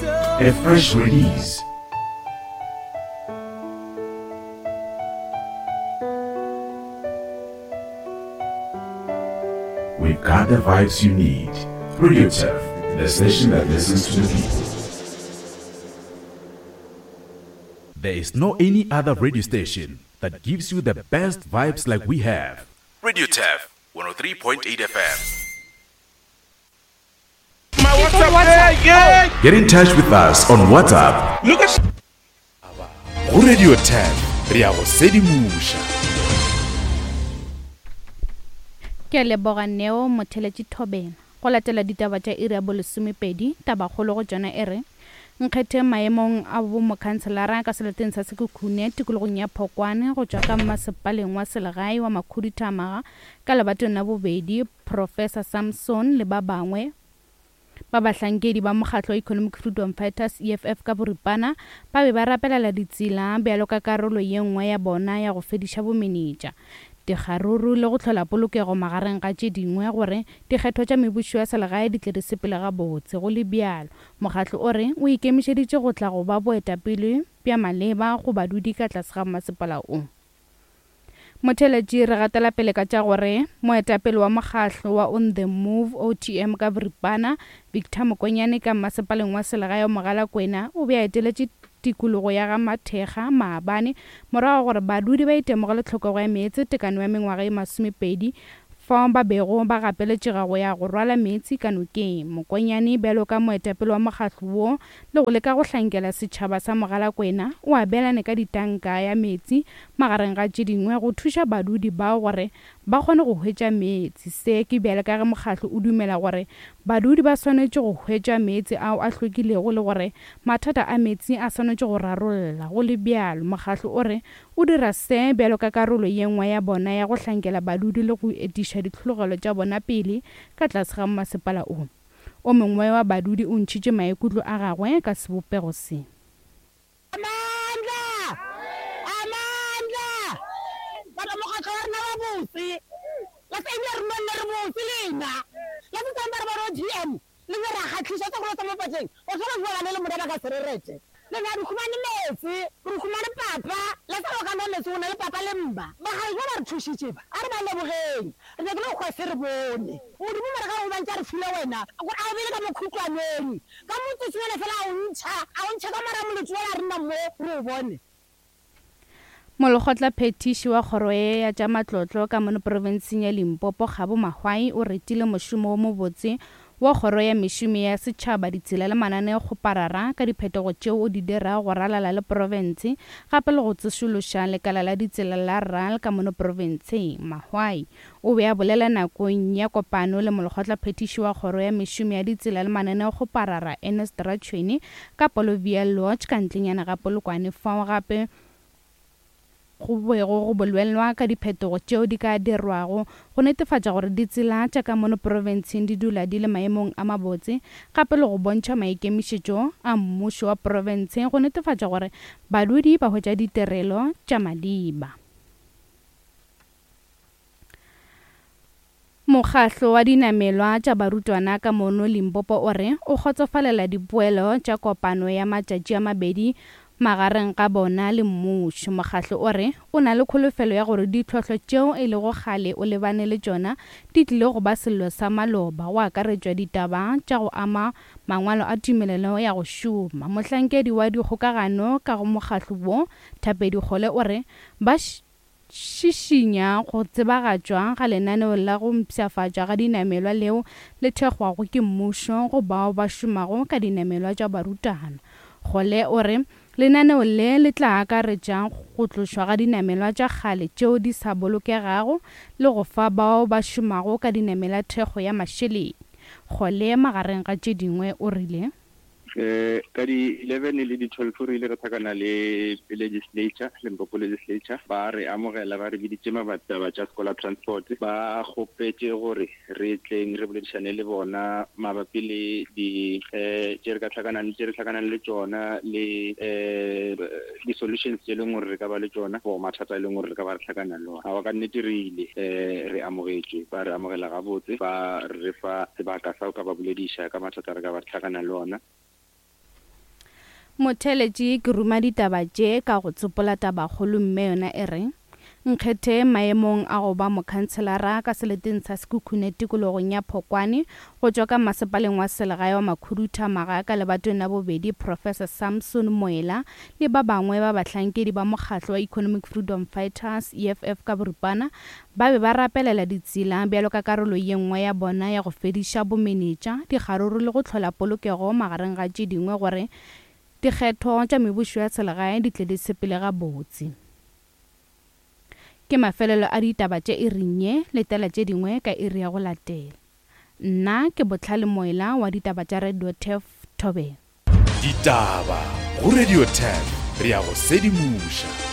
A fresh release. We've got the vibes you need. Radio Turf, the station that listens to the people. There is no any other radio station that gives you the best vibes like we have. Radio Turf, 103.8 FM. My WhatsApp, yeah, yeah. Get in touch with us on WhatsApp. Look at Go Radio 10, re ya go sedimoša. Ke a leboga Neo Motheletši Thobela. Go latela ditaba tša iri ya bolesomepedi, tabakgolo go tšona e re, Nkgetheng maemong a bomokhanselara ka seleteng sa Sekhukhune tikologong ya Phokwane go tšwa ka mmasepaleng wa selegae wa Makhuduthamaga ka lebatong la bobedi, Professor Samson le ba bangwe ba bahlankedi ba mokgatlo wa Economic Freedom Fighters, EFF ka boripana, ba be ba rapelela ditsela bjalo ka karolo ye nngwe ya bona ya go fediša bomenetša, dikgaruru le go hlola polokego magareng ga tše dingwe gore dikgetho tša mebušo ya selegae di tle di sepele gabotse. Go le bjalo, mokgatlo o re o ikemišeditše go tla go ba boetapele bja maleba go badudi ka tlase ga mmasepala o. Motheeletši re gatela pele ka tša gore moetapele wa mokgahlo wa On The Move, OTM ka boripana, Victor Mokonyane ka mmasepaleng wa selegae wa Mogalakwena o be a eteletše tikologo ya ga Mathekga maabane morago ga gore badudi ba itemogele tlhokego ya meetse tekano ya mengwaga ye masomepedi fao ba bego ba gapeletšega go ya go rwala meetse ka nokeng. Mokonyane bjalo ka moetapele wa mokgahlo wo le go leka go hlankela setšhaba sa Mogalakwena, o abelane ka ditanka ya meetse magareng ga tše dingwe go thuša badudi bao gore ba kgone go hwetša meetse. Se ke bjale ka ge mokgatlo o dumela gore badudi ba swanetše go hwetša meetse ao a hlwekilego le gore mathata a meetse a swanetše go rarolla. Go le bjalo, mokgatlo o re o dira se bjalo ka karolo ye nngwe ya bona ya go hlankela badudi le go etiša ditlhologelo tša bona pele ka tlase ga mmasepala o. O mongwe wa badudi o ntšhitše maikutlo a gagwe ka sebopego se. Amandla! Amandla! Batho mokgatlo wa rena wa botse. La se ebile re nonne re botse lena. La se tsang ba re ba re OTM le be ra kgatlhiša sa go sa mo patleng. O tshwana go bana le mona ba ka se re rete. Le na re humane meetse, re humane papa. La sa go ka nwa meetse o na le papa le mma. Bagale ba ba re thušitše ba. A re ba lebogeng. Re nyakile go hwa se re bone. Modimo mara ka go bantša re file wena. Gore a o bele ka mokhutlwaneng. Ka motsotsonyana fela a o ntšha, a o ntšha ka mara molotsi wola re nna mo re o bone. Molekgotla phethiši wa kgoro ye ya tša matlotlo ka mono profenseng ya Limpopo Kgabo Mahwai o retile mošomo wo mobotse wa kgoro ya mešomo ya setšhaba, ditsela le mananeokgoparara ka diphetogo tšeo o di dirago go ralala le profense gape le go tsošološa lekala la ditsela la RAL ka mono profenseng. Mahwai O be a bolela nakong ya kopano le molekgotlaphethiši wa Kgoro ya Mešomo ya Ditsela le Mananeokgoparara Ernest Ratshwene ka Polovia Lodge ka ntlenyana ga Polokwane fao gape go bego go bolelwa ka diphetogo tšeo di ka dirwago go netefatša gore ditsela tša ka mono profenseng di dula di le maemong a mabotse gape le go bontšha maikemišetšo a mmušo wa profense go netefatša gore badudi ba hwetša ditirelo tša maleba. Mokgahlo wa dinamelwa tša barutwana ka mono Limpopo o re o kgotsofalela dipoelo tša kopano ya matšatši a mabedi magareng ga bona le mmušo. Mokgahlo o re o na le kholofelo ya gore ditlhohlo tšeo e lego kgale o lebane le tšona di tlile go ba sello sa maloba, go akaretšwa ditaba tša go ama mangwalo a tumelelo ya go šoma. Mohlankedi wa dikgokagano ka go mokgahlo wo, Thapedi Kgole o re ba Šišinya go tsebagatšwa ga lenaneo la go mpshafatšwa ga dinamelwa leo le thekgwago ke mmušo go bao ba šomago ka dinamelwa tša barutwana. Gole o re lenaneo le le tla akaretša go tlošwa ga dinamelwa tša kgale tšeo di sa bolokegago le go fa bao ba šomago ka dinamela thekgo ya mašeleng. Gole magareng ga tše dingwe o rile. Ka di 11 le di 12 re ile ra hlakana le legislature, Limpopo legislature, ba re amogela, ba re biditše mabapi taba tša scholar transport, ba kgopetše gore re tleng re boledišane le bona mabapi le di tše re ka hlakanang, tše re hlakanang le tšona le di solutions tše e leng gore re ka ba le tšona for mathata e leng gore re ka ba re hlakana le ona. Aowa ka nnete re ile re amogetšwe, ba re amogela gabotse, ba re fa sebaka sa go ka ba bolediša ka mathata re ka ba re hlakana le ona. Motheeletši ke ruma ditaba tše ka go tsopola tabakgolo mme yona e re, Nkgethe maemong a go ba mokhanselara ka seleteng sa Sekhukhune tikologong ya Phokwane go tšwa ka masepaleng wa selegae wa Makhuduthamaga ka lebatong la bobedi Professor Samson Moela le ba bangwe ba bahlankedi ba mokgatlo wa Economic Freedom Fighters, EFF ka boripana, ba be ba rapelela ditsela bjalo ka karolo ye nngwe ya bona ya go fediša bomenetša, dikgaruru le go hlola polokego magareng ga tše dingwe gore dikgetho tša mebušo ya selegae di tle di sepele gabotse. Ke mafelelo a ditaba tše iring ye, letela tše dingwe ka iri ya go latela. Nna ke Bohlale Moela wa ditaba tša Radio Turf, Thobela. Ditaba go Radio Turf, re a go sedimoša.